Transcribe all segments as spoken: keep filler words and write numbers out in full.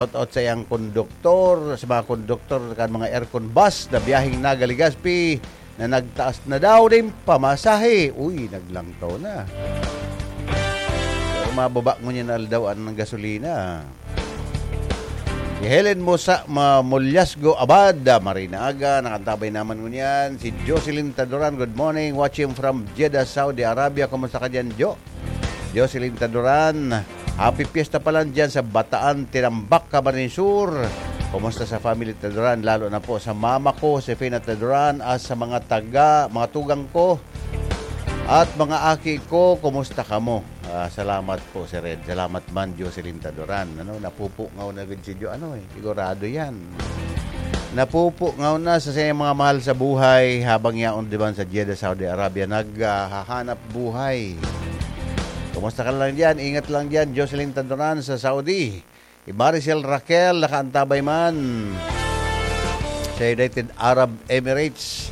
Shout out sa iyang konduktor, sa mga konduktor kan mga aircon bus na biyaheng Naga-Legazpi na nagtaas na daw nin pamasahe. Uy, naglangkaw na. Pero mababa ngunyan na aldaw ang gasolina. Si Helen Musa, Ma-, Mulyasgo Abad, ah, maray na aga, nakantabay naman ngunyan. Si Jocelyn Taduran, good morning, watching from Jeddah, Saudi Arabia. Kumusta ka dyan, Jo? Jocelyn Taduran, happy fiesta pa lang dyan sa Bataan, Tinambac, Camarines Sur. Kumusta sa family Taduran, lalo na po sa mama ko, Josefina Taduran, at sa mga taga, mga tugang ko, at mga aki ko, kumusta kamo? Ah, salamat po, Sir Ed. Salamat man, Jocelyn Taduran. Ano, napupungaw na gud si Jo. Ano eh, sigurado yan. Napupungaw na sa siyang mga mahal sa buhay habang yaon diman sa Jeddah, Saudi Arabia. Naghahanap buhay. Kumusta ka lang dyan? Ingat lang dyan, Jocelyn Taduran sa Saudi. Si Maricel Raquel, nakaantabay man sa United Arab Emirates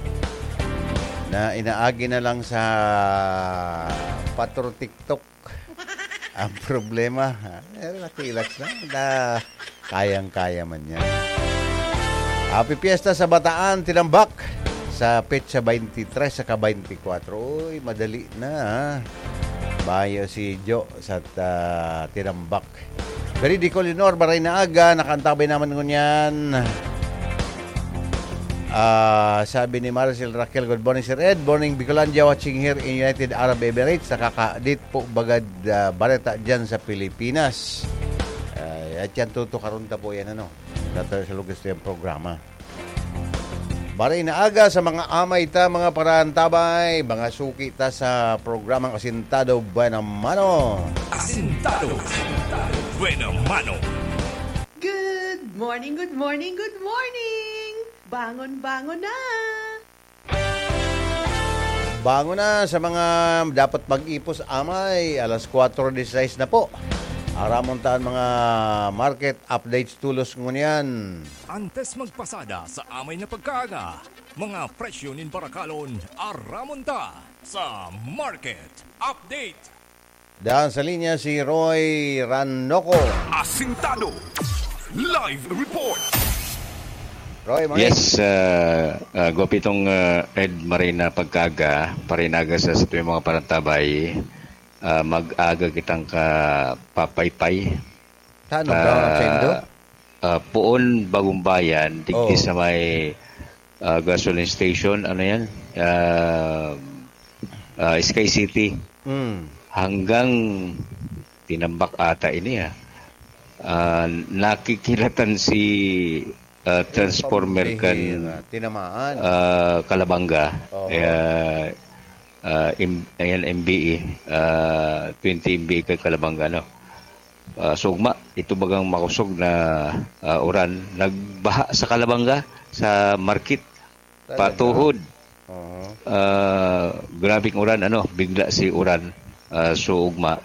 na inaagi na lang sa patro TikTok. Ang problema, eh, relax, relax lang. Na, kayang-kaya man yan. Happy Fiesta sa Bataan, Tinambac. Sa petsa twenty-three saka twenty-four. Uy, madali na, ha? Bayo si Jo sa ta-, Tinambac. Veridico Leonor, maray na aga, nakaantabay naman ngunyan. Ah, sabi ni Maricel Raquel, "Good morning, Sir Ed. Morning, Bicolandia, watching here in United Arab Emirates. Nakakadit po bagad, ah, bareta dyan sa Pilipinas." Ay, at yan, tutukaron ta po yan, ano, sa, sa lugas na yung programa. Maray na aga sa mga amay ta, mga paraantabay, mga suki ta sa programang Asintado Buena Mano. Asintado Buena Mano. Good morning, good morning, good morning! Bangon, bangon na! Bangon na sa mga dapat mag-ipos amay. Alas kwatro dieciséis na po. Aramon ta an mga market updates tolos ngunyan. Antes magpasada sa amay na pagkaaga, mga presyo nin barakalon, aramon ta sa market update. Daan sa linya si Roy Ranoco. Asintado. Live report. Roy, mga Yes, ah, ah, Gopitong, ah, Ed, maray na pagkaaga, maray na aga sa satuyang mga parantabay, ah, mag-aga kitang kapapaypay. Saan ang Ah, brown at sendo? Ah, poon Bagumbayan, digdi Oh. sa may, ah, gasoline station, ano yan? Ah, ah, Sky City. Mm. Hanggang Tinambac ata ini, ah. Ah, nakikilatan si, ah, transformer kan, Pambihira. Tinamaan. ah, Kalabanga. Oo. Kaya, ah, im-, ayan, M B E, ah, twenty M B E kay Kalabanga, no? Ah, sugma, ito bagang makosog na, ah, uran. Nagbaha sa Kalabanga, sa market, Talaga? patuhod. Oo. Ah, grabing uran, ano, bigla si uran, ah, sugma.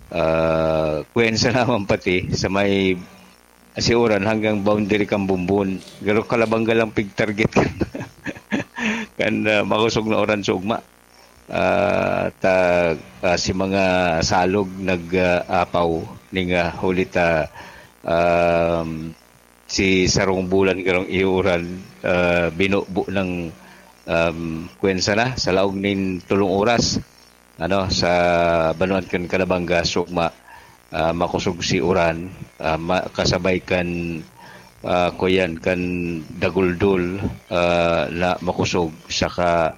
Ah, kwensa naman pati sa may, si uran hanggang boundary kan Bumbon. Pero Kalabanga lang pig-target kan, kan, ah, makosog na uran sugma. Ah, ta, ah, si mga salog nag, ah, apaw ning, ah, huli ta, um, si sarong bulan karong iuran, ah, binubo ng, um, kwensa na sa laog nin tolong oras, ano, sa banwaan kan Kalabanga, sugma, ah, makosog si uran, ah, ma-, kasabay kan, ah, kuyan, kan daguldol, ah, na makosog, saka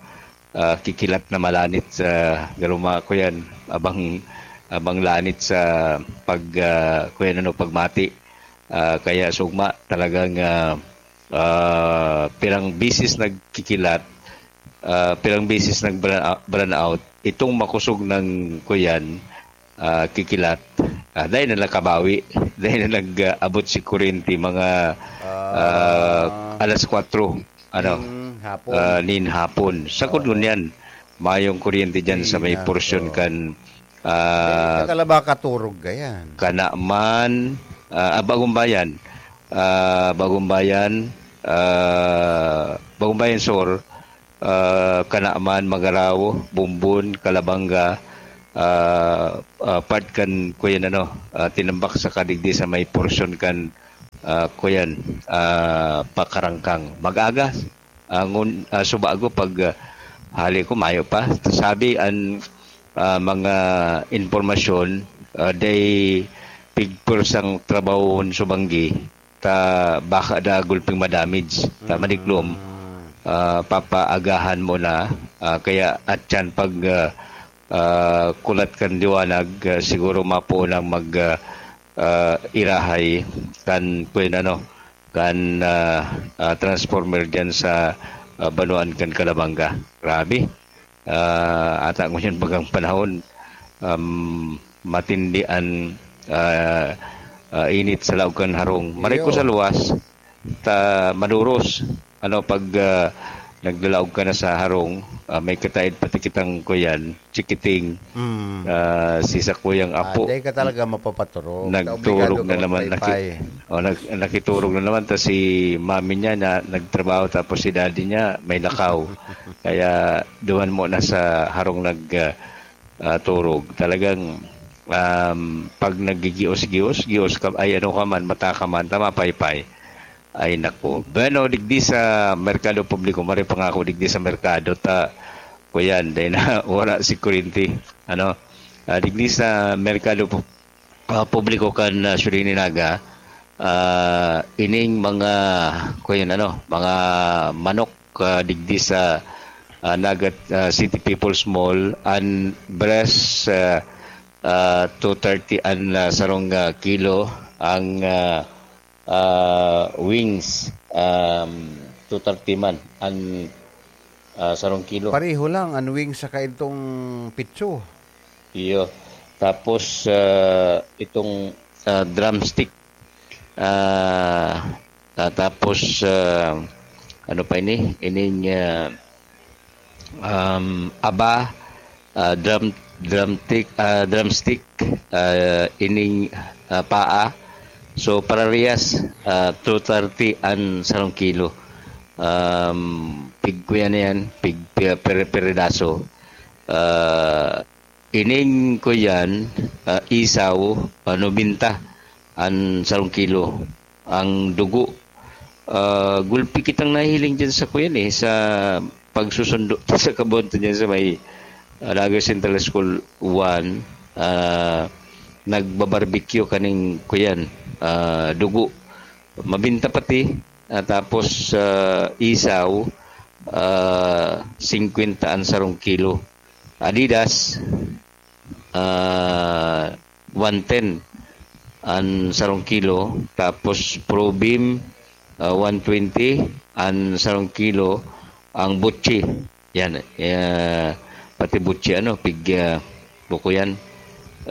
ah, kikilat na malanit sa garuma ko yan. Abang, abang lanit sa pag, ah, ko yan, ano, pagmati. Ah, kaya sugma talagang, ah, ah, pirang bisis nagkikilat, ah, pirang bisis nag-brown out. Itong makusog ng ko yan, ah, kikilat, ah, dahil na nakabawi, dahil na nag-abot si kuryente mga, Ah. ah, alas kwatro, ano, Ning hapon. ah, nin hapon. Sa Oo. Kudlon yan, mayong kuryente dyan sa may Nin porsyon hapon. kan, ah, Eh, sa Kalabaka turog ka yan. Kanaman, ah, ah, Bagumbayan, ah, Bagumbayan, ah, Bagumbayan Sur, ah, Kanaman, Magarao, Bumbon, Kalabanga, ah, ah, part kan kuyan, ano, ah, Tinambac sa kadigdi sa may porsyon kan, ah, kuyan, ah, pakarangkang. Mag-aga, ah, ngun-, ah, subago pag, ah, hali ko, mayo pa. Sabi an, ah, mga impormasyon, ah, day pigpursang trabahon subanggi, ta baka da gulping madamage, ta maniklom, ah, papaagahan mo na, ah, kaya at yan pag, ah, ah, kulat kan liwanag, ah, siguro mapuo nang mag, ah, ah, irahay kan, kung ano, kan, ah, ah, transformer diyan sa, ah, Banuan kan Calabanga. Grabe. Ah, ata ngunyan bagang panahon, um, matindi an, ah, ah, init sa laog kan harong. Maray ko Iyo. sa luwas, ta maduros. Ano, pag, ah, naglalaog ka na sa harong, ah, may kataid pati kitang kuyan, chikiting, Mm. ah, si sakuyang Ah, apo, dai ka talaga mapapaturog. nagturog Obligado na ka naman, naki-, magpaypay. O, nag-, nakiturog na naman, tas si mami niya na nagtrabaho, tapos si daddy niya may lakaw. Kaya duman mo na sa harong nag, ah, ah, turog. Talagang, um, pag nagigios-gios, gios ka, ay ano ka man, mata ka man, tama, paypay. Ay, naku. Bueno, digdi sa merkado publiko, maray pa nga ako digdi sa merkado, ta, kuyan, dahil na wala si kurinti. Ano? Ah, digdi sa merkado pu-, ah, publiko kan, ah, Sudani Naga, ah, ining mga, kuyan, ano, mga manok, ah, digdi sa, ah, Naga, ah, City People's Mall, an breast, ah, ah, two thirty an, ah, sarong, ah, kilo, ang, ah, ah, wings, um, two thirty man an, ah, sarong kilo. Pareho lang an wings saka itong pitso. Iyo. Tapos, ah, itong, ah, drumstick, ah, ah, tapos, ah, ano pa ini? Ining, ah, um, aba, ah, drum, drumstick, ah, drumstick, ah, ining, ah, paa. So, parehas, ah, two thirty an sarong kilo. Um, pig kuyan na yan, pig pi-, pere-, peredaso. Ah, ining kuyan, ah, isaw, ah, nobenta an sarong kilo. Ang dugo, ah, gulpi kitang nahihiling dyan sa kuyan eh, sa pagsusundo sa kabonto niya sa may, ah, Naga Central School one, ah, nagbabarbecue kaning kuyan, ah, dugo. Mabinta pati, ah, tapos, ah, isaw, ah, singkwenta an sarong kilo. Adidas, ah, one ten an sarong kilo, tapos Probeam, ah, one twenty an sarong kilo, ang butchi, yan, eh, pati butchi, ano, pig, ah, buko yan,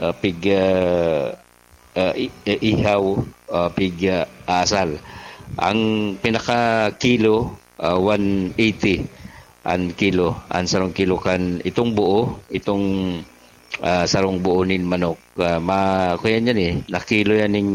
ah, pig, ah, ah, i-, eh, ihaw, ah, pig, ah, asal. Ang pinaka kilo, ah, one eighty an kilo, an sarong kilo kan itong buo, itong, ah, sarong buo nin manok. Ah, ma-, kuya niyan eh, nakilo yan ning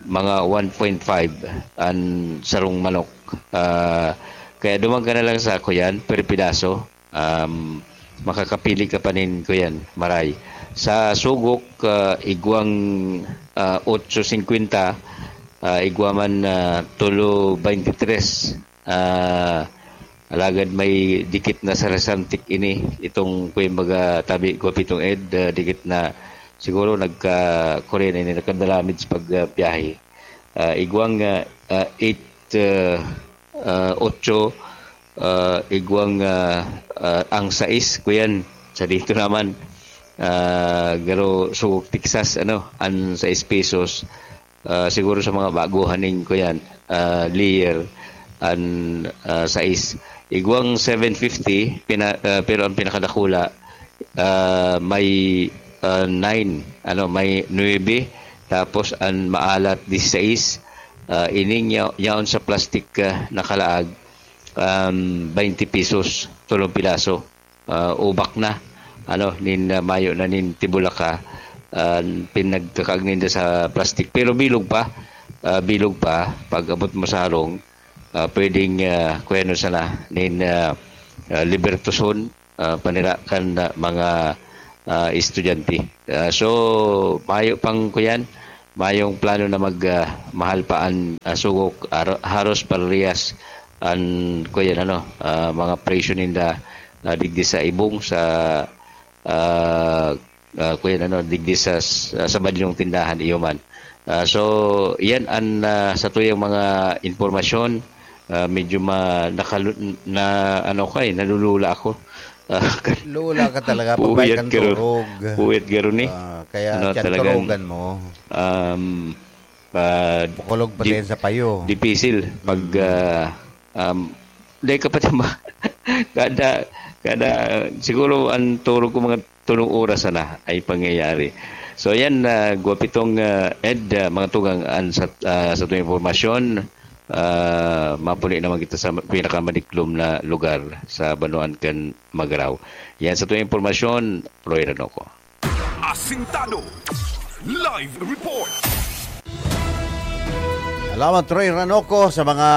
mga one point five an sarong manok. Ah, kaya duman ka na lang sa kuyan, per pidaso. Um, makakapili ka pa nin kuyan, maray. Sa sugok, ah, igwang, ah, otso singkwenta, ah, igwa man, ah, tulo baynte tres. Ah, alagad may dikit na sa Resantic ini, itong kuyan baga tabi ko pitong ed, ah, dikit na siguro nagka-, kuryente ini, nagkadalamid sa pag, ah, biyahe. Ah, igwang, ah, ah, eight, ah, ah, otso, ah, igwang, ah, ah, ang sais, kuyan, sa dito naman, ah, garo sugok Texas, ano, ang sais pesos, ah, siguro sa mga baguhan ning, kuyan, ah, layer, an, ah, sais. Igwang seven fifty, pina-, ah, pero ang pinakadakula, ah, may, ah, nine, ano, may nuebe, tapos ang maalat, disisais. Ah, ining ya-, yaon sa plastic, ah, nakalaag, um, baynte pesos, tolong pidaso. Ah, ubak na, ano, nin, ah, mayo na nin tibulaka, ah, pinagkakaag ninda sa plastic. Pero bilog pa, ah, bilog pa, pag abot mo sa harong, ah, pwedeng, ah, kuya, ano sana, nin, ah, ah, Libertoson, ah, panira kan, ah, mga, ah, estudyante. Ah, so, mayo pang kuyan, mayong plano na mag, ah, mahal pa an, ah, sugok, aro-, haros parehas an, kuyan, ano, ah, mga presyo ninda, ah, digdi sa ibong, sa, ah, ah, kuyan, ano, digdi sa, sa, sa badlong tindahan, iyo man. Ah, so, yan an, ah, satuyang mga impormasyon. Ah, medyo ma-, nakalu-, na, ano ka, eh, nalulula ako. Ah, Lula ka talaga, pabay puyat kang garo-, turog. Puyat garo ni. Ah, kaya Ano, tiyan talagang, turugan mo. um, ah, Bukulog pa di-, din sa payo. Dipisil pag, Mm. ah, um, dahil ka pa tama. Kada, kada, siguro ang turog ko mga tulong oras sana ay pangyayari. So, yan, ah, Guapitong, ah, Ed, ah, mga tugang, an sa, ah, sa tuwing impormasyon, ah, mapuli naman kita sa pinakamadiklom na lugar sa Banwaan kan Magarao. Yan sa tuwing impormasyon, Roy Ranoco. Asintado. Live report. Salamat, Roy Ranoco, sa mga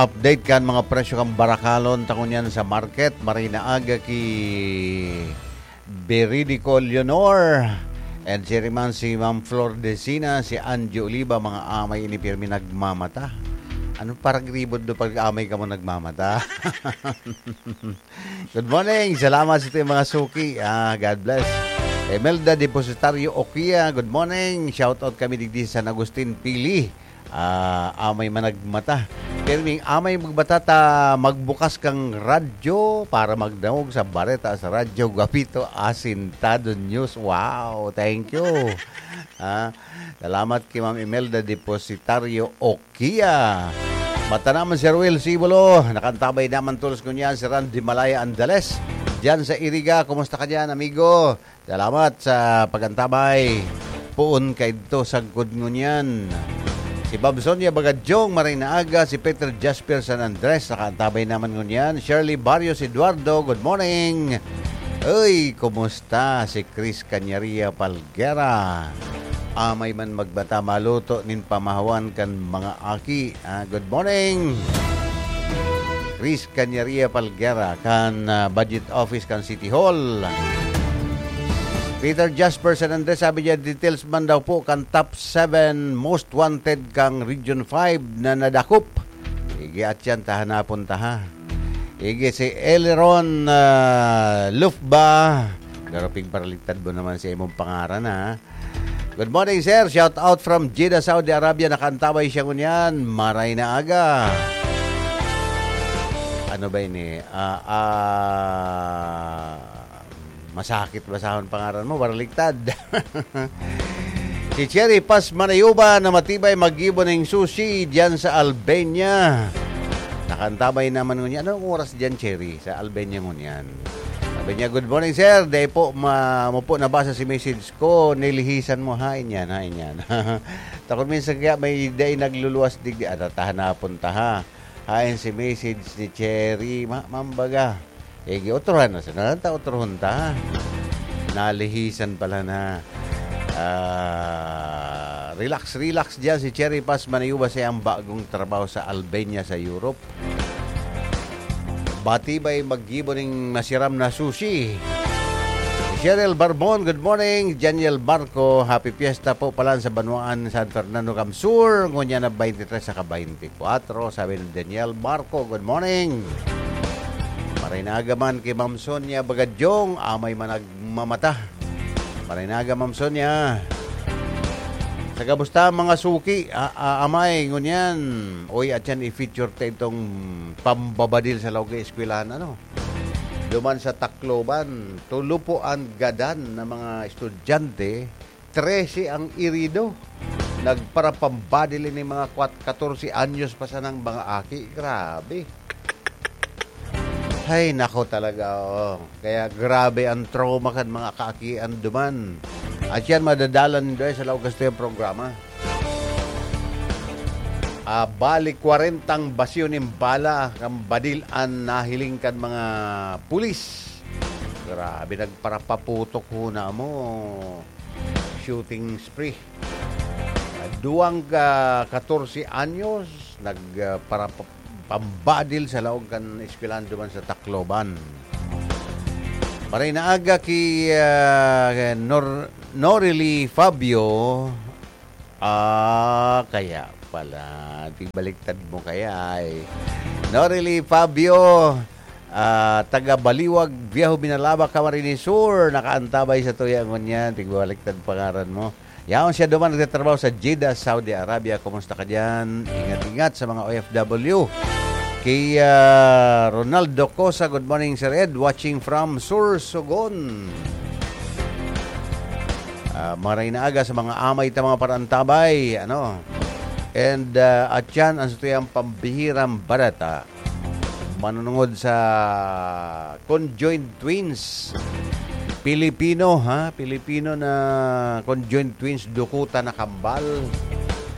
update kan mga presyo kan barakalon ta ngunyan sa market. Maray na aga ki Veridico Leonor. And si Riman, si Ma'am Flor Decina, si Angie Oliva, mga amay ini pirmi nagmamata. Anong paragribod do pag amay ka mo nagmamata? Good morning. Salamat sa mga suki. Ah, God bless. Imelda Depositario Okia, good morning. Shout out kami digdi sa San Agustin, Pili. Ah, amay man nagmata. Pirming amay magbata ta magbukas kang radyo para magdangog sa bareta sa Radyo Guapito Asintado News. Wow, thank you. Ah, salamat kay Ma'am Imelda Depositario Okia. Mata naman si Ruel Sibulo. Nakantabay naman tulos ngunyan si Randy Malaya Andales. Diyan sa Iriga, kumusta ka diyan, amigo? Salamat sa pag-antabay. Poon kaidto sagkod ngunyan. Si Bob Sonia Bagadyong, maray na aga. Si Peter Jasper San Andres, nakaantabay naman ngunyan. Shirley Barrios Eduardo, good morning. Uy, kumusta si Chris Canyaria Palguera? Amay man magbata maluto nin pamahawan kan mga aki. Ah, good morning. Chris Canyaria Palguera kan, ah, Budget Office kan City Hall. Peter Jasper San Andres, sabi niya, details man daw po kan top seven most wanted kang Region five na nadakop. Sige, at yan, tahanapon ta, ha. Sige, si Eleron, ah, Lufba. Pero pigparaliktad mo naman sa imong pangaran, ha. Good morning, sir. Shout out from Jeddah, Saudi Arabia. Nakaantabay siya ngunyan. Maray na aga. Ano ba ini? Ah, ah, masakit basahon pangaran mo, baraligtad. Si Cherry Paz Manayuba na matibay maggibo ning sushi diyan sa Albania. Nakaantabay naman ngunyan. Anong oras diyan, Cherry, sa Albania ngunyan? Sabi niya, "Good morning, sir. Dai po ma-, mo po nabasa si message ko. Nilihisan mo." Hain yan, hain yan. Takot minsan kaya may dai nagluluwas digdi. Ah, tatahan na punta, ha. Hain si message ni Cherry. Ma-, mambaga. Eh, giutrohan na sana. Ta utrohon ta. Nalihisan pala na. Ah, relax, relax diyan si Cherry Paz Manayuba sa iyang bagong trabaho sa Albania, sa Europe. Batibay maggibo ning masiram na sushi. Cheryl Barbon, good morning. Daniel Barco, happy fiesta po pala sa Banwaan San Fernando Camsur. Ngunyan na twenty-three saka twenty-four, sabi ni Daniel Barco, good morning. Maray na aga man ki Ma'am Sonia Bagadyong, amay man nagmamata. Maray na aga, Ma'am Sonia. Sa kamusta, mga suki? A-, a-, amay, ngunyan. Uy, at yan, i-feature ta itong pambabadil sa laog ng eskwelahan, ano? Duman sa Tacloban, tulo po ang gadan na mga estudyante, trese ang irido. Nagparapambadil ini mga kwat-, katorse anyos pa sanang mga aki. Grabe. Hay, nako talaga, oh. Kaya grabe ang trauma kan mga kaakian duman. At yan, madadalan nindo sa laog kastuyang programa. Ah, bali, kwarentang basyo nin bala kan badil an nahiling kan mga pulis. Grabe, nagparapaputok huna mo. Shooting spree. Ah, duwang ka katorse anyos, nag, ah, para pa-, pambadil sa laog kan eskwelahan duman sa Tacloban. Maray na aga ki, ah, Nor-, Norely Fabio, Ah, kaya pala. Di baliktad mo kaya ay. Norely Fabio, ah, taga Baliwag, Viejo Binalaba, Camarines Sur. Nakaantabay sa tuya ngunyan. Di baliktad pangaran mo. Yaon siya duman nagtatrabaho sa Jeddah, Saudi Arabia. Kumusta ka diyan? Ingat-ingat sa mga O F W. Kay, ah, Ronaldo Cosa, "Good morning, Sir Ed. Watching from Sorsogon." Ah, maray na aga sa mga amay ta mga parantabay, ano? And, ah, at yan ang satuyang pambihirang barata. Manunungod sa conjoined twins. Pilipino, ha? Pilipino na conjoined twins, dukuta na kambal.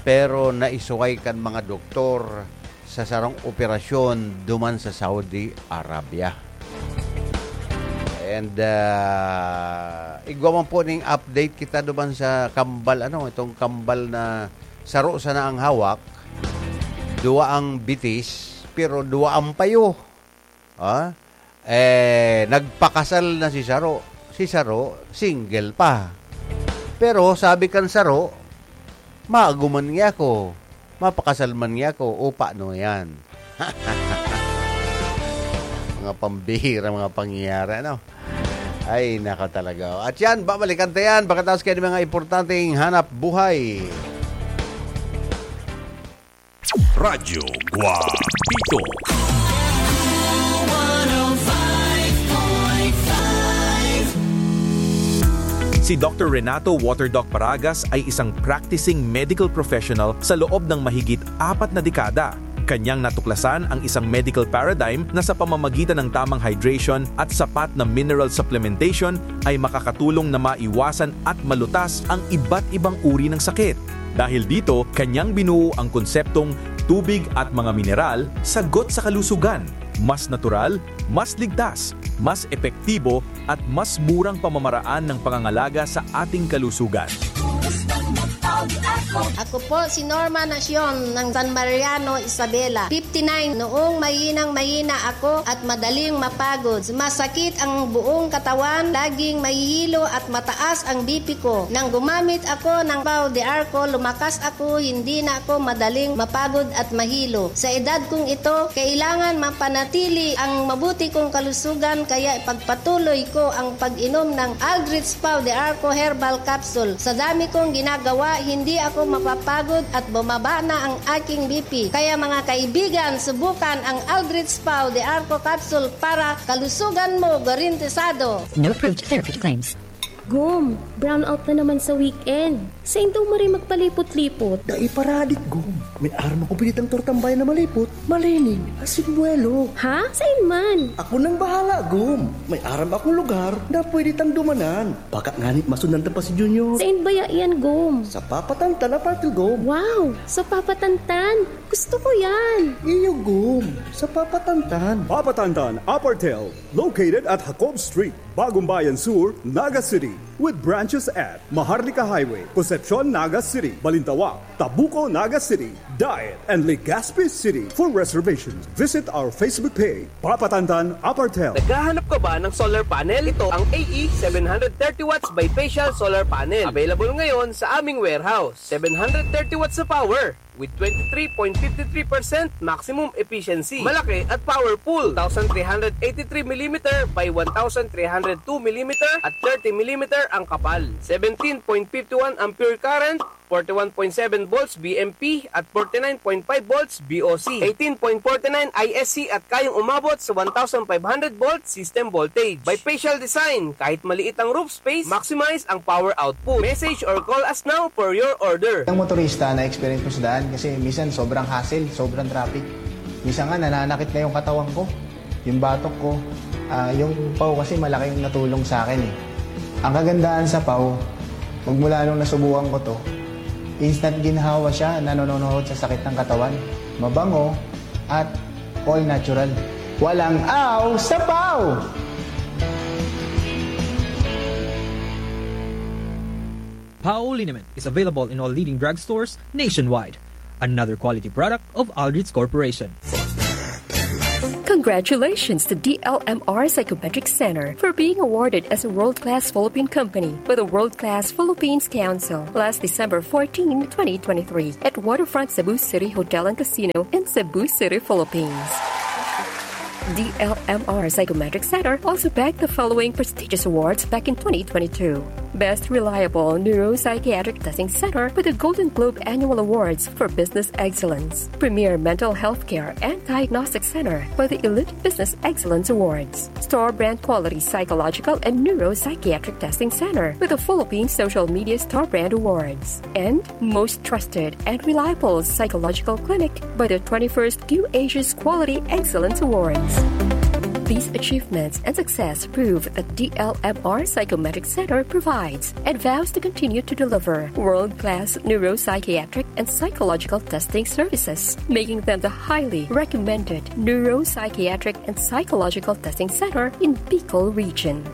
Pero naisuway kan mga doktor sa sarong operasyon duman sa Saudi Arabia. And, ah, igwa man po ning update kita duman sa kambal, ano, itong kambal na saro sana ang hawak, duwa ang bitis, pero duwa ang payo. Ah? Eh, nagpakasal na si saro. Si saro, single pa. Pero sabi kan saro, "Maago man niya ako. Mapakasal man niya ako. O, paano yan?" Mga pambihira, mga pangyayari, ano? Ay, nako talaga. At yan, babalikan ta yan pagkatapos kayo ng mga importanteng hanap buhay. Radyo Guapito. Si Doctor Renato Waterdoc Paragas ay isang practicing medical professional sa loob ng mahigit apat na dekada. Kanyang natuklasan ang isang medical paradigm na sa pamamagitan ng tamang hydration at sapat na mineral supplementation ay makakatulong na maiwasan at malutas ang iba't ibang uri ng sakit. Dahil dito, kanyang binuo ang konseptong tubig at mga mineral, sagot sa kalusugan. Mas natural, mas ligtas, mas epektibo, at mas murang pamamaraan ng pangangalaga sa ating kalusugan. Ako po si Norma Nacion ng San Mariano, Isabela. Fifty-nine, noong mahinang-mahina ako at madaling mapagod. Masakit ang buong katawan, laging mahihilo at mataas ang B P ko. Nang gumamit ako ng Pau de Arco, lumakas ako, hindi na ako madaling mapagod at mahilo. Sa edad kong ito, kailangan mapanatili ang mabuti kong kalusugan, kaya ipagpatuloy ko ang pag-inom ng Aldrich Pau de Arco Herbal Capsule. Sa dami kong ginagawa, hindi ako mapapagod at bumaba na ang aking B P. Kaya, mga kaibigan, subukan ang Aldrich Pau de Arco Capsule para kalusugan mo garantisado. No approved therapeutic claims. Gom, brownout na naman sa weekend. Sain daw maray magpalipot-lipot? Dai paradik, Gom. May aram akong pinitang tortang bayan na malipot, malinig, asin buwelo. Ha? Sain man? Ako nang bahala, Gom. May aram akong lugar na pwede tang dumanan. Baka nganit masundan ta pa si Junior. Sain baya iyan, Gom? Sa Papa Tantan Apartel, Gom. Wow! Sa Papa Tantan! Gusto ko yan! Iyo, Gom. Sa Papa Tantan. Papa Tantan Apartel, located at Jacob Street, Bagumbayan Sur, Naga City, with branches at Maharlika Highway, Concepcion, Naga City, Balintawak, Tabuco, Naga City, Daet, and Legazpi City. For reservations, visit our Facebook page, Papa Tantan Apartel. Naghahanap ka ba ng solar panel? Ito ang A E seven hundred thirty watts bifacial solar panel. Available ngayon sa aming warehouse. Seven hundred thirty watts na power with twenty-three point five three percent maximum efficiency. Malaki at powerful. Two thousand three hundred eighty-three millimeter by one thousand three hundred two millimeter at thirty millimeter ang kapal. Seventeen point five one ampere current, forty-one point seven volts V M P at forty-nine point five volts V O C. Eighteen point forty-nine I S C at kayang umabot sa one thousand five hundred volts system voltage. Bifacial design, kahit maliit ang roof space, maximize ang power output. Message or call us now for your order. Ang motorista, na-experience ko sa daan kasi minsan sobrang hassle, sobrang traffic. Minsan nga, nananakit na yung katawan ko, yung batok ko. Ah, yung Pau kasi malaking natulong sa akin eh. Ang kagandahan sa Pau, magmula nung nasubukan ko to, instant ginhawa siya, nanononohod sa sakit ng katawan. Mabango at all natural. Walang aw sa Pau! Pau liniment is available in all leading drugstores nationwide. Another quality product of Aldrich Corporation. Kan Congratulations to D L M R Psychometric Center for being awarded as a world-class Philippine company by the World Class Philippines Council last December fourteen, twenty twenty-three, at Waterfront Cebu City Hotel and Casino in Cebu City, Philippines. D L M R Psychometric Center also bagged the following prestigious awards back in twenty twenty-two. Best Reliable Neuropsychiatric Testing Center with the Golden Globe Annual Awards for Business Excellence. Premier Mental Health Care and Diagnostic Center for the Elite Business Excellence Awards. Star Brand Quality Psychological and Neuropsychiatric Testing Center with the Philippine Social Media Star Brand Awards. And Most Trusted and Reliable Psychological Clinic by the twenty-first Q Asia's Quality Excellence Awards. These achievements and success prove that D L M R Psychometric Center provides and vows to continue to deliver world-class neuropsychiatric and psychological testing services, making them the highly recommended neuropsychiatric and psychological testing center in Bicol Region.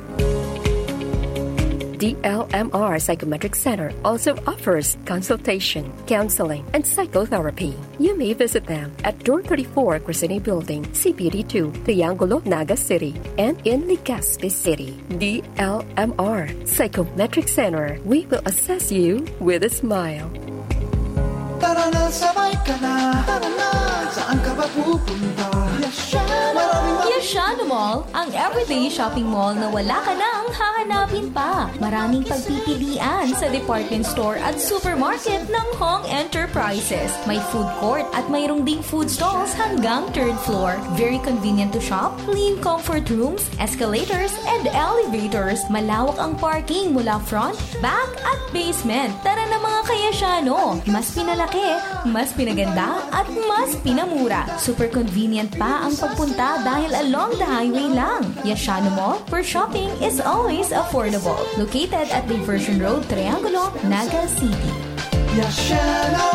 D L M R Psychometric Center also offers consultation, counseling, and psychotherapy. You may visit them at Door thirty-four, Crescene Building, C P D two, Triangulo, Naga City, and in Legazpi City. D L M R Psychometric Center, we will assess you with a smile. Tara na, sabay ka na. Tara na, saan ka ba pupunta? Maraming Yashano Mall, ang everyday shopping mall na wala ka nang hahanapin pa. Maraming pagpipilian sa department store at supermarket ng Hong Enterprises. May food court at mayroong ding food stalls hanggang third floor. Very convenient to shop, clean comfort rooms, escalators, and elevators. Malawak ang parking mula front, back, at basement. Tara na, mga Kayasyano! Mas pinalaki, mas pinaganda, at mas pinamura. Super convenient pa ang pagpunta dahil along the highway lang. Yashano Mall, where shopping is always affordable. Located at Diversion Road, Triangulo, Naga City. Yashano!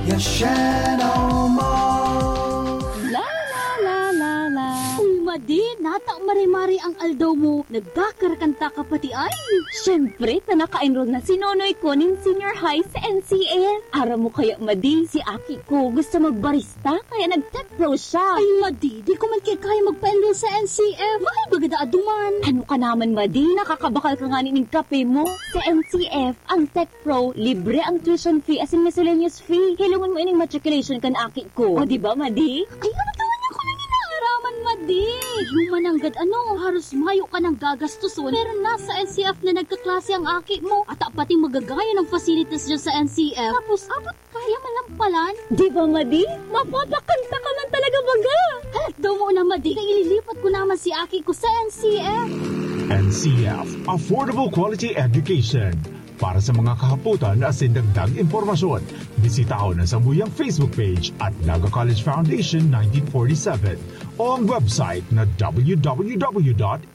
Yashano Mall! La la la la la. Uy, Madi, nata marimari ang aldaw mo. Nagkakarakanta ka pati ay. Siyempre, ta naka-enroll na si Nonoy ko nin senior high sa N C F. Aram mo kaya, Madi, si aki ko gusto magbarista, kaya nag-tech pro siya. Ay, Madi, di ko man kaya magpa-enroll sa N C F. Mahal baga daa duman. Ano ka naman, Madi? Nakakabakal ka nga ning kape mo. Sa N C F, ang tech pro, libre ang tuition fee asin miscellaneous fee. Hilongon mo ining matriculation kan aki ko. O, di ba, Madi? Ay, ano naman yung kung inaaraman, Madi? Yung mananggad, ano, haros mayo ka nang gagastuson. Pero nasa N C F na nagkaklase ang aki mo. At pati magagaya ng facilities dyan sa N C F. Tapos, abot kaya man lang palan. Di ba, Madi? Mapapakanta ka man talaga baga. Halat daw mo na, Madi. Kaya ililipat ko naman si aki ko sa N C F. N C F, Affordable Quality Education. Para sa mga kahapotan asin dagdag impormasyon, bisitahon ang sambuyang Facebook page at Naga College Foundation nineteen forty-seven o ang website na www.ncf.edu.ph.